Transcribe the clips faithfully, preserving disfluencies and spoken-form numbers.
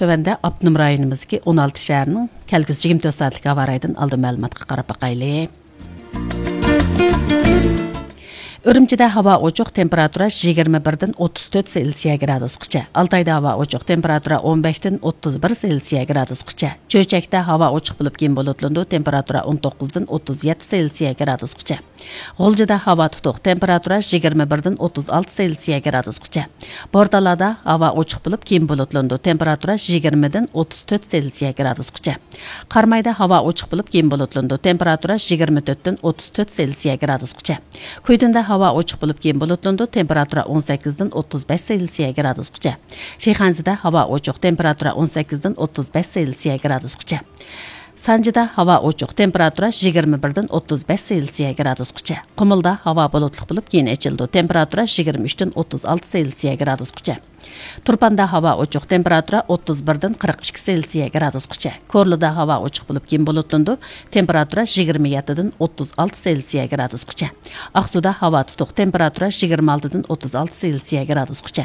تۆۋەندە ئاپتونوم رايونىمىزدىكى ئون ئالتە شەھەرنىڭ كەلگۈسى يىگىرمە تۆت سائەتلىك ھاۋا رايىدىن ئالدىن مەلۇماتقا قاراپ باقايلى. ئۈرۈمچىدە ھاۋا ئوچۇق، تېمپېراتۇرا يىگىرمە بىردىن ئوتتۇز تۆت سېلسىيە گرادۇسقىچە. ئالتايدا ھاۋا ئوچۇق، تېمپېراتۇرا ئون بەشتىن ئوتتۇز بىر سېلسىيە گرادۇسقىچە. چۆچەكتە ھاۋا ئوچۇق بولۇپ، كېيىن بۇلۇتلىنىدۇ، تېمپېراتۇرا ئون توققۇزدىن ئوتتۇز يەتتە سېلسىيە گرادۇسقىچە. غۇلجىدا ھاۋا تۇتۇق، تېمپېراتۇرا يىگىرمە بىردىن ئوتتۇز ئالتە سېلسىيە گرادۇسقىچە. بورتالادا ھاۋا ئوچۇق بولۇپ، كېيىن بۇلۇتلىنىدۇ، تېمپېراتۇرا يىگىرمىدىن ئوتتۇز تۆت سېلسىيە گرادۇسقىچە. قارامايدا ھاۋا ئوچۇق بولۇپ، كېيىن بۇلۇتلىنىدۇ، تېمپېراتۇرا يىگىرمە تۆتتىن ئوتتۇز تۆت سېلسىيە گرادۇسقىچە. كۈيدۈندە ھاۋا ئوچۇق بولۇپ، كېيىن بۇلۇتلىنىدۇ، تېمپېراتۇرا ئون سەككىزدىن ئوتتۇز بەش سېلسىيە گرادۇسقىچە. شىخەنزىدە ھاۋا ئوچۇق، تېمپېراتۇرا ئون سەككىزدىن ئوتتۇز بەش سېلسىيە گرادۇسقىچە. سانجىدا ھاۋا ئوچۇق، تېمپېراتۇرا يىگىرمە بىردىن ئوتتۇز بەش سېلسىيە گرادۇسقىچە. قۇمۇلدا ھاۋا بۇلۇتلۇق بولۇپ، كېيىن ئېچىلىدۇ، تېمپېراتۇرا يىگىرمە ئۈچتىن ئوتتۇز ئالتە سېلسىيە گرادۇسقىچە. تۇرپاندا ھاۋا ئوچۇق، تېمپېراتۇرا ئوتتۇز بىردىن قىرىق ئىككى سېلسىيە گرادۇسقىچە. كورلىدا ھاۋا ئوچۇق بولۇپ، كېيىن بۇلۇتلىنىدۇ، تېمپېراتۇرا يىگىرمە يەتتىدىن ئوتتۇز ئالتە سېلسىيە گرادۇسقىچە. ئاقسۇدا ھاۋا تۇتۇق، تېمپېراتۇرا يىگىرمە ئالتىدىن ئوتتۇز ئالتە سېلسىيە گرادۇسقىچە.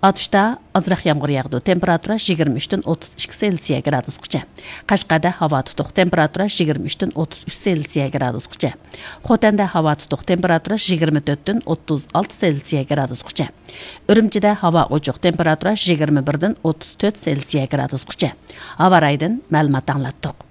ئاتۇشتا ئازراق يامغۇر ياغىدۇ، تېمپېراتۇرا يىگىرمە ئۈچتىن ئوتتۇز ئىككى سېلسىيە گرادۇسقىچە. قەشقەردە ھاۋا تۇتۇق، تېمپېراتۇرا يىگىرمە ئۈچتىن ئوتتۇز ئۈچ سېلسىيە گرادۇسقىچە. خوتەندە ھاۋا تۇتۇق، تېمپېراتۇرا يىگىرمە تۆتتىن ئوتتۇز ئالتە سېلسىيە گرادۇسقىچە. ئۈرۈمچىدە ھاۋا ئوچۇق، تېمپېراتۇرا يىگىرمە بىردىن ئوتتۇز تۆت سېلسىيە گرادۇسقىچە. ھاۋا رايىدىن مەلۇمات ئاڭلاتتۇق.